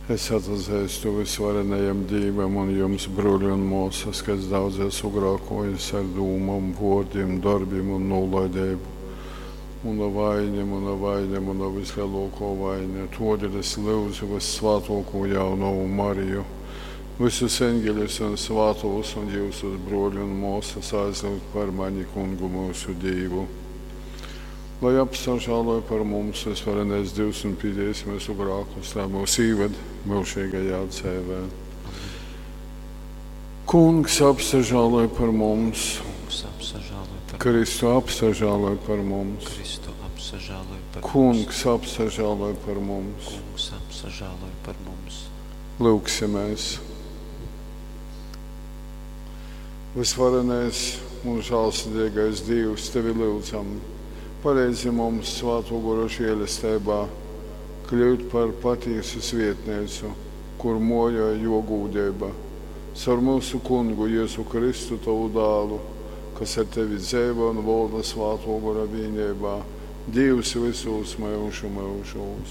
Es atzeistu vysvarenajam Dīvam un jums, bruoli un muosys, ka es daudz esmu grākuojis ar dūmom, vuordim, dorbim un nūlaideibu. Muna vaine, muna vaine, muna vysleluokuo vaine. Tuodeļ es lyudzu vyssvātuokū jaunovu Mariju, vysus eņgeļus un svātūs un jiusus, bruoli un muosys, aizlyugt par mani Kungu myusu Dīvu. Lai apsažāloj par mums vysvarenais Dīvs un pīdīs myusu grākus, lai mūs īved myužīgajā dzeivē. Kungs apsažāloj par mums, Kungs apsažāloj par mums. Kristu apsažāloj par mums, Kristu apsažāloj par mums. Kungs apsažāloj par mums. Kungs apsažāloj par mums. Lūgsimies! Vysvarenais un žālsirdīgais Dīvs, tevi lyudzam, paleidzi mums svātō gora žēlesteibā kļūt par patīsu svietneicu, kur mojoj jo gūdeiba. Caur myusu kungu Jēzu Kristu, tovu dālu, kas ar tevi dzeivo un volda svātō gora vīneibā, Dīvs vysūs myužu myužūs.